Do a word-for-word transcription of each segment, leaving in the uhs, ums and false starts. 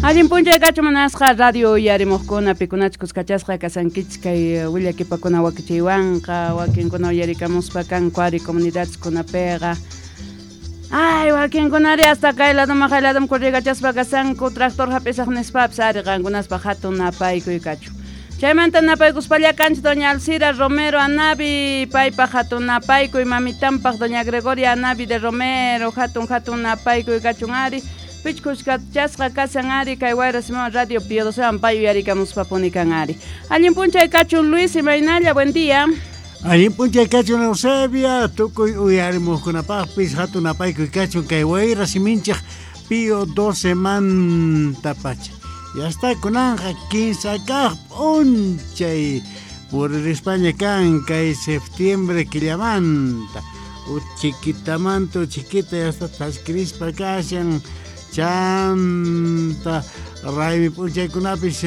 Allin p'unchay kachun munasqa radio uyarimuqkuna pikunachus kuskachasqa kasankichis kay willakipakuna wakichiywanqa wakinkuna uyarikamuspa kanku ari comunidadeskunapiqa. Ay, wakinkunari hasta kay ladoman hay ladoman kurrikachaspa kasanku tractor hap'isaq nispapis ari qankunaspa hatun napaykuy kachun. Chaymanta napaykuspalla kanchis doña Alcira Romero Anavi, paypaq hatun napaykuy mamitanpaq doña Gregoria Anavi de Romero, hatun hatun napaykuy kachun ari. Pichkuskachasqa kasan ari kay Wayra Simón Radio Pío docewan pay uyarikamuspa punikan ari. Allin p'unchay kachun Luis imaynalla, buen día. Allin p'unchay kachun Eusebia, tukuy uyarimuqkunapaqpis hatun napaykuy kachun kay Wayra Siminchik Pío doce manta pacha. Ya está kunanja kinsa kaq p'unchay puririspaña kan kay septiembre killamanta. Uchiquitamanta uchiquita ya está tashkirispa kashan. Chanta raymi p'unchaykunapis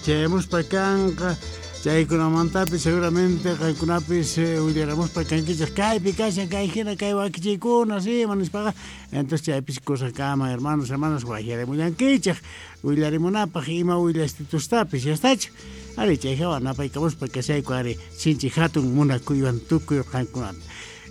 chayamuspa kanqa chaykunamantapis seguramente qankunapis willaramuspa kankichik kaypi kashan kay hina kay wakichiykuna sí manispaqa entonces chaypis kusakama hermanos hermanas waqyarimullankichik willarimunapaq ima willastitustapis ya estachu ari chay hawa napaykamuspa kashayku ari sinchi hatun munakuywan tukuy qankunata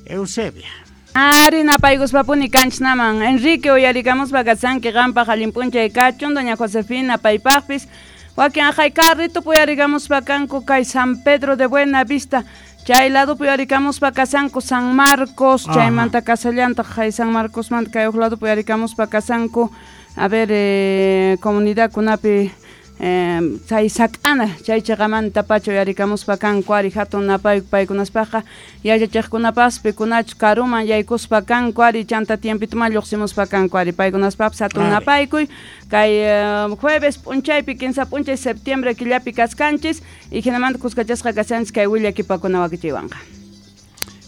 Eusebia. Ari napaykuspapuni kanchnaman Enrique uyarikamuspa kasanki qanpaq allin p'unchay kachun doña Josefina paypaqpis wakin aqhay carritupi uyarikamuspa kanku kay San Pedro de Buena Vista chay ladopi uyarikamuspa kasanku San Marcos chaymanta kasallantaq hay San Marcosmanta kay huk ladopi uyarikamuspa kasanku a ver eh, comunidadkunapi Eh, chay sak'ana chay chiqamanta pacha uyarikamuspa kanku ari hatun napayku paykunaspaqa yachachiqkunapas pikunachu karuman yaykuspa kanku ari chanta tiempituman lluqsimuspa kanku ari paykunaspapis hatun napaykuy kay eh, jueves p'unchaypi kinsa p'unchay septiembre killapi kaskanchis y hinamanta kuskachasqa kashanchis kay willakipakuna wakichiywanqa.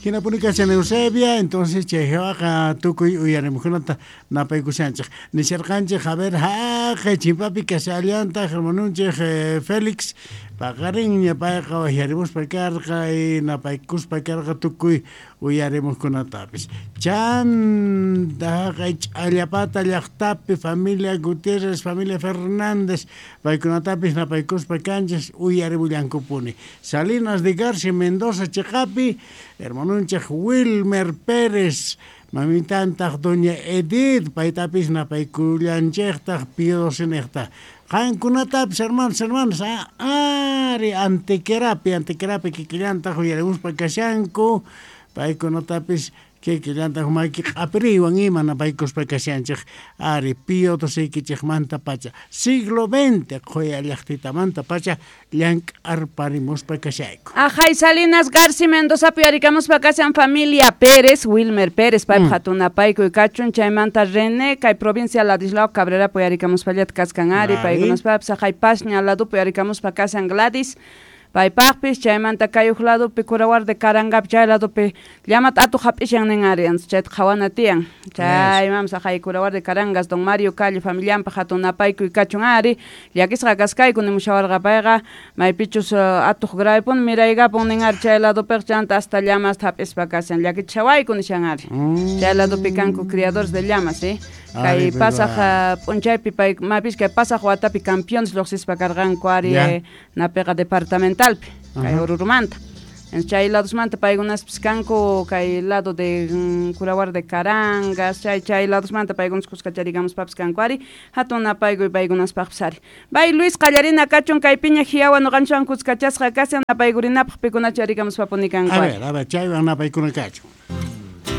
Hinapuni kashan Eusebia, entonces chayhawaqa tukuy uyarimuqkunata napaykushanchik. Nisharqanchik, a ver, haqay chimpapi kashallantaq hermanunchik eh, Félix paqarinña payqa waqyarimuspa karqa y napaykuspa karqa tukuy uyarimuqkunatapis. Chanta haqay Ch'allapata llaqtapi familia Gutiérrez, familia Fernández, paykunatapis napaykuspa kanchis uyarimullankupuni. Salinas de Garcia Mendoza chiqapi, hermanunchik Wilmer Pérez, mamitantaq doña Edith, paytapis napaykullanchiktaq Pío doce. Qankunatapis hermanos, hermanas, ari Antequerapi, Antequerapi kikillantaq uyarimuspa kashanku, paykunatapis kikillantaq maki q'apiriwan ima napaykuspa kashanchik ari Pío doce pacha siglo veinte qhuya llaqtitamanta pacha llank'arparimuspa kashayku. Ajay Salinas Garci Mendozapi uyarikamuspa kashan familia Pérez, Wilmer Pérez paypaq mm. hatun napaykuy kachun chaymanta René kay provincia Ladislao Cabrerapi uyarikamuspallata kaskan ari paykunaspapis ajay Pasña ladopi uyarikamuspa kashan Gladys paypaqpis chaymanta kay huk ladopi Curawar de Karangapi chay ladopi llamata atuq hap'ishan nin ari chayta qhawana tiyan chaymanpas aqhay Curawar de Carangas don Mario Calle familianpaq hatun napaykuy kachun ari llakisqa kaskayku nimushawarqa payqa maypichus atuq gravepuni miraykapun nin ari chay ladopiqa chanta hasta llamasta hap'ispa kashan llakichishawayku nishan ari chay ladopi kanku criadores de llamas eh kay pasaq p'unchaypi pay mapis kay pasaq watapi campeones lluqsispa karqanku ari napiqa departamentalpi kay Orurumanta chay ladosmanta paykunaspis kanku kay lado de mm, Curawar de Carangas chay chay ladosmanta paykunas kuskacharikamuspapis kanku ari hatun napaykuy paykunaspaqpis ari. Bay Luis qallarina kachun kay piña hiyawan nuqanchikwan kuskachasqa kashan napaykurinapaq pikunachu yarikamuspapuni kanku ari. A ver, a ver, chaywan napaykuna kachun.